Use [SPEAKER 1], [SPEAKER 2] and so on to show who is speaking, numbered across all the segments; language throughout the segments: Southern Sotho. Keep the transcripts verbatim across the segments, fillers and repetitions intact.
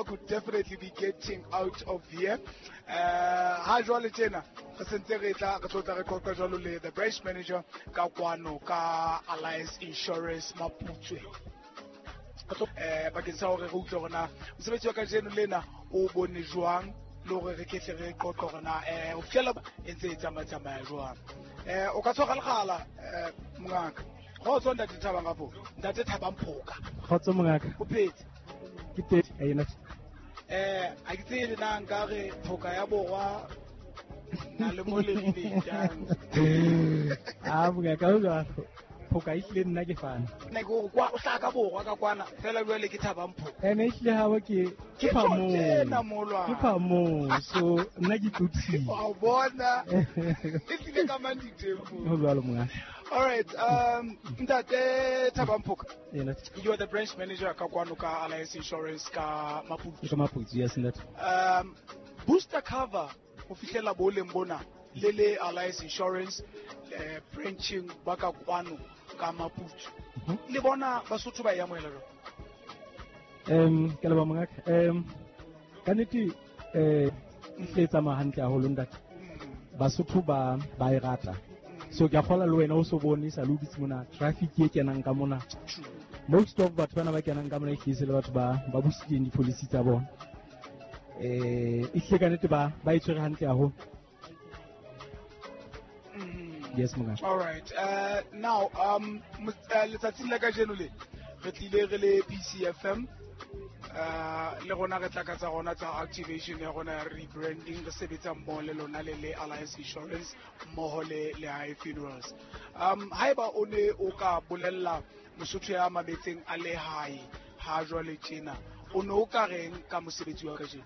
[SPEAKER 1] Could definitely be getting out of here. Uh, ha jwale tjena re sentse re tla re tlo tla re qoqa jwalo le the branch manager ka kwano ka Alliance Insurance Maputswe. Eh bakeng sa hore re utlwe hore na mosebetsi wa kajeno lena o bone jwang le hore re ketle re qoqe hore na eh ho fihlela e ntse e tsamaya jwang. Eh o ka tshwara lekgala eh mongaka. Kgotso ntate Thabang kapo. Ntate Thabang Phoka.
[SPEAKER 2] Kgotso mongaka.
[SPEAKER 1] O phetse?
[SPEAKER 2] Ke teng ena.
[SPEAKER 1] Eh a ke tsebe na nka re Phoka ya Borwa na le mo le jang.
[SPEAKER 2] Ah mongaka o jwang? Phoka e hlile nna ke fana.
[SPEAKER 1] Nna ke hore kwa o hlaka Borwa ka kwana fela jwale ke Thabang Phoka.
[SPEAKER 2] Ene ehlile ha ke ke
[SPEAKER 1] phamong.
[SPEAKER 2] Ke phamong so nna ke tlotsile.
[SPEAKER 1] Wa bona. E tlile ka mang ditempo.
[SPEAKER 2] Ho jwalo mongaka.
[SPEAKER 1] All right, um, Ntate Thabang Phoka.
[SPEAKER 2] Yes.
[SPEAKER 1] You are the branch manager ka kwano ka Alliance Insurance ka Maputswe.
[SPEAKER 2] Ka Maputswe, yes ntate.
[SPEAKER 1] Um, booster cover ho fihlela boleng bona le le Alliance Insurance eh, branching ba ka kwano ka Maputswe. Le bona Basotho ba e amohela jwang?
[SPEAKER 2] Um, ke leboha mongaka. Um, ka nnete eh e tsamaya hantle haholo ntate. Basotho ba ba e rata. So ke a kgola le wena o so bone sa le dutse mona traffic e kenang ka mona. Most of batho bana ba kenang ka mona e hlile le batho ba ba busitseng di-policy tsa bona. Eh e hlile ka nnete ba ba e tshwere hantle haholo. Yes mongaka.
[SPEAKER 1] All right. Uh, now um letsatsing la kajeno le re tlile re le P C F M uh le rona re tla ka tsa rona tsa activation ya rona ya rebranding re sebetsa mmoho le lona le le Alliance Insurance mmoho le le High Funerals. Um haeba o ne o ka bolella Mosotho ya mametseng a le hae ha jwale tjena o ne o ka reng ka mosebetsi wa kajeno?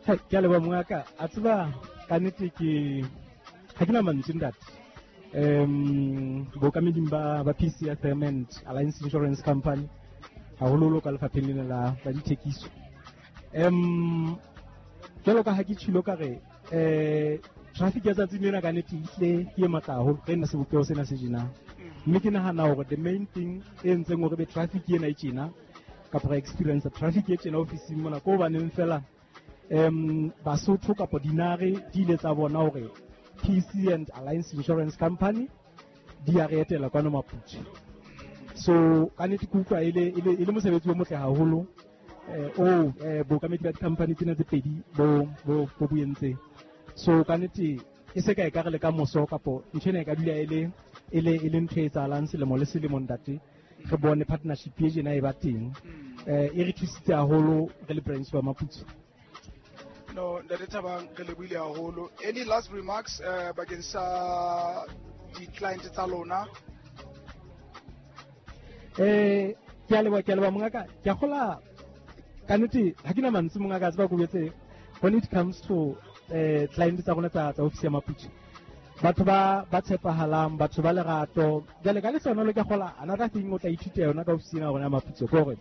[SPEAKER 2] Ke a leboha mongaka. A tseba ka nnete ke ha ke na mantswe ntate. Um bokameding ba ba P C F M and Alliance Insurance Company haholoholo ka lefapheng lena la la dithekiso. Um jwalo ka ha ke tshilo ka re eh traffic ya tsatsing lena ka nnete ehlile ke e matla haholo re nna sebopeho sena se tjena. Mme ke nahana hore the main thing e entseng hore be traffic ena e tjena kapa re experience traffic e tjena ofising mona ko hobaneng fela um Basotho kapa dinare di ile tsa bona hore P C and Alliance Insurance Company di a re etela kwano Maputswe. So ka nnete ke utlwa e le e le mosebetsi o motle haholo eh o eh bokamedi ba di-company tsena tse pedi bo bo bo entseng. So ka nnete e se ka e ka re le ka moso kapo ntho ena e ka dula e le e le e le ntho e etsahalang selemo le selemo ntate re bone partnership e tjena e ba teng. Eh e re thusitse haholo re le branch ba Maputswe.
[SPEAKER 1] No, Ntate Thabang re lebohile haholo. Any last remarks uh, bakeng sa di-client tsa lona?
[SPEAKER 2] Eh ke a leboha ke a leboha mongaka. Ke a kgola ka nnete ha ke na mantswe mongaka a tseba ko betse when it comes to eh client tsa rona tsa tsa office ya Maputswe. Batho ba ba tshepahalang, batho ba lerato. Jwale ka lehlohonolo ke a kgola another thing o tla ithuta yona ka office ena ya rona ya Maputswe ke hore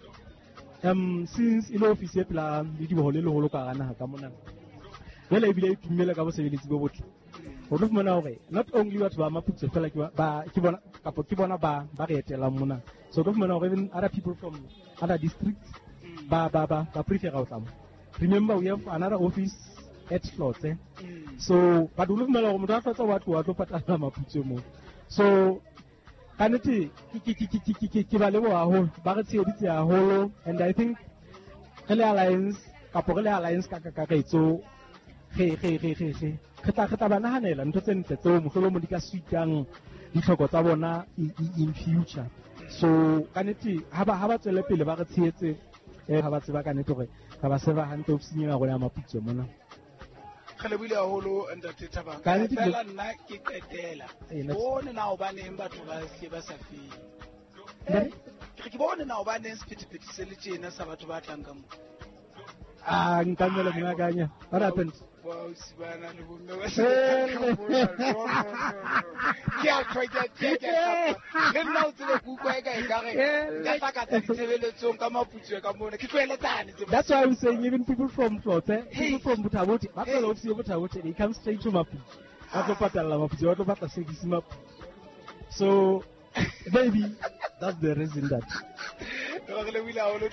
[SPEAKER 2] um since e le office e pela le diboho le leholo ka hara naha ka mona. Jwale ebile e tummele ka bosebeletsi bo botle. O tlo fumana hore not only batho ba Maputswe fela ke ba ke bona kapa ke bona ba ba re etelang mona. So o tlo fumana hore even other people from other districts ba ba ba ba prefer ho tla mo. Remember we have another office at Hlotse. So but o tlo fumana hore motho a Hlotse wa tloha a tlo patala Maputswe mo. So ka nnete ke ke ke ke ke ke ba leboha haholo ba re tsheheditse haholo and I think re le Alliance kapo re le Alliance ka kakaretso re re re re re re tla re tla ba nahanela ntho tse ntle tseo mohlolomong di ka suitang ditlhoko tsa bona in future. So ka nnete ha ba ha ba tswele pele ba re tshehetse eh ha ba tseba ka nnete hore re ba serve hantle ofising ena ya rona ya Maputswe mona.
[SPEAKER 1] Re lebohile haholo Ntate Thabang. Fela nna ke qetela. Bone na hobaneng batho ba hle ba sa fele. Ke ke bone na hobaneng sephethephethe se le tjena sa batho ba tlang ka mo.
[SPEAKER 2] Ah nkamela mongakanya. What happened?
[SPEAKER 1] Ba sibana le bomme ba se. Ke a try ke ke ke. Le nna o tsebe ke utlwa e ka e ka re nka tla ka tsa ditshebeletsong ka Maputswe ka mona. Ke tlohelletsane tse.
[SPEAKER 2] That's why I'm saying even people from Hlotse, people from Botha-Bothe, ba tlola office ya Botha-Bothe, they come straight to Maputswe. Ba tlo patalla Maputswe, ba tlo batla service Maputswe. So maybe that's the reason that.
[SPEAKER 1] Re lebohile haholo.